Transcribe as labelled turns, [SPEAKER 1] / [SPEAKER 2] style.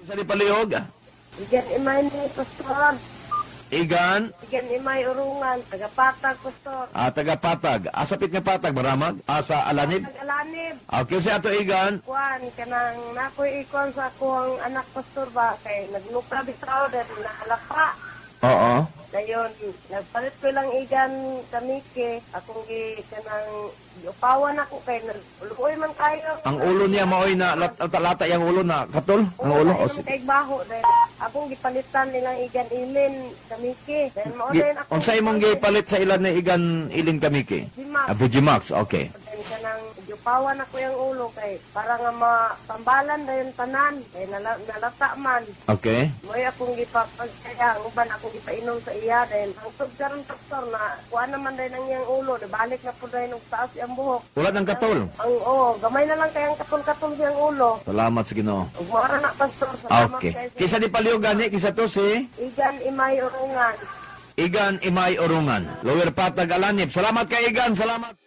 [SPEAKER 1] Sa di palihog?
[SPEAKER 2] Igan Imay ni, Pastor.
[SPEAKER 1] Igan,
[SPEAKER 2] Igan Imay Urungan, tagapatag, Pastor.
[SPEAKER 1] Ah, taga-Patag. Asapit nga Patag, Maramag? Asa Alanib?
[SPEAKER 2] Tag-Alanib.
[SPEAKER 1] Okay, si ato Igan.
[SPEAKER 2] Kuan, kanang nakoy ikon sa akong anak, Pastor, ba, kay nagluka bitaw dahil nakalapa.
[SPEAKER 1] Oo.
[SPEAKER 2] Dayon, nagpalit ko lang igan kamike, akong gi kanang giupawan ako kay luoy man kayo.
[SPEAKER 1] Ang ulo niya maoy na lata yung ulo na katol? Ang ulo?
[SPEAKER 2] O,
[SPEAKER 1] O, si-
[SPEAKER 2] kay baho dahil akong gipalitan nilang igan ilin kamike. Dahil mao
[SPEAKER 1] Gi,
[SPEAKER 2] dayon ako.
[SPEAKER 1] Unsa imong gipalit sa ilan ni Igan Ilin Kamiki?
[SPEAKER 2] Vujimax.
[SPEAKER 1] Ah, Vujimax, okay.
[SPEAKER 2] Then kanang giupawan ako yung ulo kay para nga mapambalan dayon tanan kay nalata man.
[SPEAKER 1] Okay.
[SPEAKER 2] Mo'y akong gipapagkaya, ang uban akong gipainom sa iya dahil ang tug karon, Doktor, na kuha naman dahil ang iyang ulo, balik na po dahil og taas iyang buhok.
[SPEAKER 1] Wala ng katol.
[SPEAKER 2] Ang oh, gamay na lang kayang katol-katol siyang ulo.
[SPEAKER 1] Salamat sa Ginoo.
[SPEAKER 2] Ug mao na, Pastor, salamat
[SPEAKER 1] Okay.
[SPEAKER 2] kay sa
[SPEAKER 1] Kisa di palihog gani, kisa to si
[SPEAKER 2] Igan Imay Urungan.
[SPEAKER 1] Igan Imay Orungan. Lower Patag, Alanib. Salamat kay Igan, salamat.